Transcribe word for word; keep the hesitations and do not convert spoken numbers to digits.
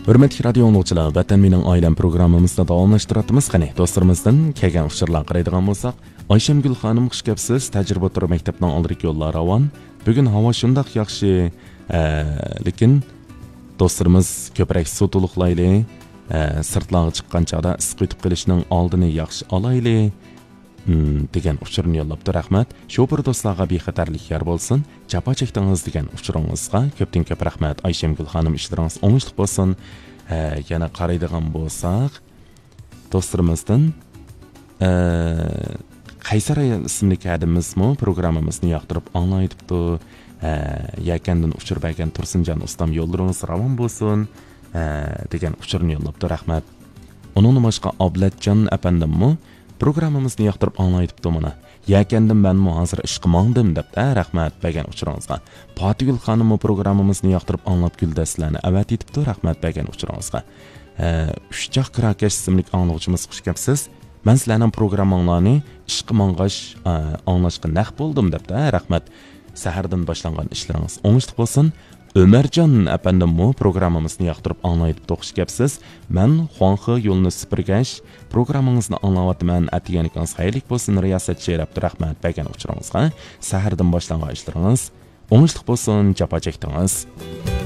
ھۆرمەتلىك رادىيو ئاڭلىغۇچىلار، ۋەتەن مېنىڭ ئائىلەم پروگراممىمىزنى داۋاملاشتۇراتتىمىز. قېنى، دوستلىرىمىزدىن كەلگەن ئۇچۇرلارغا قارايدىغان بولساق، ئايشەمگۈل خانىم، خۇش كەپسىز، تەجرىبە ئوتتۇرا مەكتەپنىڭ ئالدىدىكى يوللار راۋان. بۈگۈن ھاۋا شۇنداق ياخشى، ئە، لېكىن دوستلىرىمىز كۆپرەك سۇ تولۇقلايلى، ئە، سىرتلارغا چىققان چاغدا ئىسسىق يۇتۇپ قېلىشنىڭ ئالدىنى ياخشى ئالايلى. مم، دېگەن ئۇچۇرنى يوللاپتۇ، رەھمەت. شوپۇر دوستلارغا بىخەتەرلىك يار بولسۇن، جاپا چەكتىڭىز دېگەن ئۇچۇرىڭىزغا كۆپتىن كۆپ رەھمەت. ئايشەمگۈل خانىم، ئىشلىرىڭىز ئوڭۇشلۇق بولسۇن. ھە، يەنە قارايدىغان بولساق، دوستلىرىمىزدىن، ئە، قەيسەر ئايال ئىسىملىك ھەدىمىزمۇ پروگراممىمىزنى ياقتۇرۇپ ئاڭلايتىپتۇ. ھە، يەكەندىن ئۇچۇر بەرگەن تۇرسۇنجان ئۇستام، يوللىرىڭىز راۋان بولسۇن، ھە، دېگەن ئۇچۇرنى يوللاپتۇ، رەھمەت. ئۇنىڭدىن باشقا ئابلەتجان ئەپەندىممۇ پروگراممىمىزنى ياقتۇرۇپ ئاڭلايتىپتۇ مانا. يەكەندىن مەنمۇ ھازىر ئىشقا ماڭدىم دەپتۇ، ھە، رەھمەت بەرگەن ئۇچۇرىڭىزغا. پاتىگۈل خانىممۇ پروگراممىمىزنى ياقتۇرۇپ ئاڭلاپ گۈلدەستىلەرنى ئەۋەتىۋېتىپتۇ، رەھمەت بەرگەن ئۇچۇرىڭىزغا. ھە، ئۈچ چاق كىراكەش ئىسىملىك ئاڭلىغۇچىمىز، خۇش كەپسىز. مەن سىلەرنىڭ پروگرامماڭلارنى ئىشقا ماڭغاچ، ئە، ئاڭلاشقا نەق بولدۇم دەپتۇ، ھە، رەھمەت. سەھەردىن باشلانغان ئىشلىرىڭىز ئوڭۇشلۇق بولسۇن. ئۆمەرجان ئەپەندىممۇ پروگراممىمىزنى ياقتۇرۇپ ئاڭلايدۇ، خۇش كەپسىز. مەن خۇاڭخې يولىنى سۈپۈرگەچ، پروگراممىڭىزنى ئاڭلاۋاتىمەن، ئەتىگەنلىكىڭىز خەيرلىك بولسۇن، رىياسەتچى دەپتۇ، رەھمەت بەرگەن ئۇچۇرىڭىزغا. سەھەردىن باشلانغان ئىشلىرىڭىز ئوڭۇشلۇق بولسۇن، جاپا چەكتىڭىز.